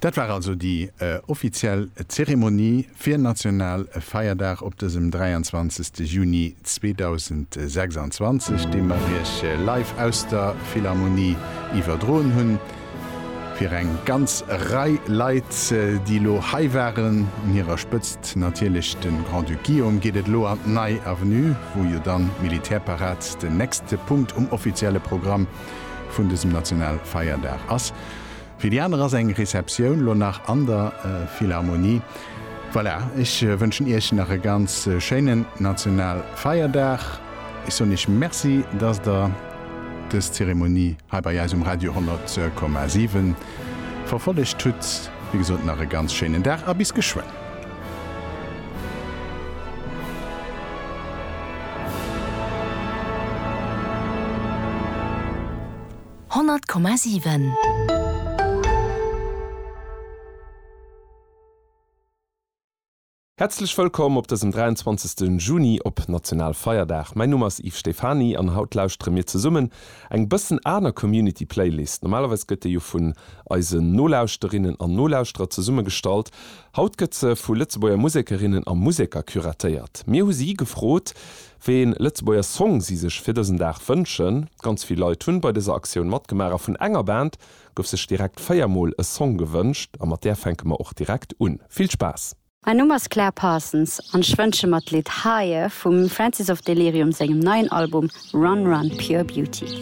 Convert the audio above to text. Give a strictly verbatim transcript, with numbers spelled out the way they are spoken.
Dat war also déi offiziell Zeremonie fir Nationalfeierdag op dësem dräianzwanzegste Juni zweedausendsechsanzwanzeg, dee mer Iech live aus der Philharmonie iwwerdroen hunn. Fir eng ganz Rei Leit, déi elo hei waren, un hirer Spëtzt natierlech de Grand-Duc Guillaume, geet et elo an d'Nei Avenue, wou jo dann d'Militärparad den nächste Punkt um offizielle Programm vun dësem Nationalfeierdag ass. Fir déi aner ass eng Receptioun lo nach an der Philharmonie. Voilà, ech wënschen Iech nach e ganz schéinen Nationalfeierdag. Ech soen Iech Merci, dass Der dës Zeremonie hei bei eis um Radio honnert Komma siwen verfollegt hutt. Wéi gesot, nach e ganz schéinen Dag a bis geschwënn. Honnert Komma siwen. Häerzlech wëllkomm op dësem dräianzwanzegste Juni op Nationalfeierdag. Mäin Numm ass Yves Stephany an haut lauschtere mir zesummen eng bëssen aner Community Playlist. Normalerweis gëtt déi jo vun eisen Nolauschterinnen an Nolauschterer zesummegestallt. Haut gëtt se vu Lëtzebuerger Musekerinnen a Museker curatéiert. Mir hu si gefrot, wéi een Lëtzebuerger Song si sech fir dësen Dag wënschen. Ganz vill Leit hunn bei dëser Aktioun matgemaach a vun enger Band gouf sech direkt véier Mol e Song gewënscht a mat där fänke mer och direkt un. Vill Spaass! Mäin Numm ass Claire Parsons an ech wënsche mer d'Lidd Higher vum Francis of Delirium sengem neien Album Run Run Pure Beauty.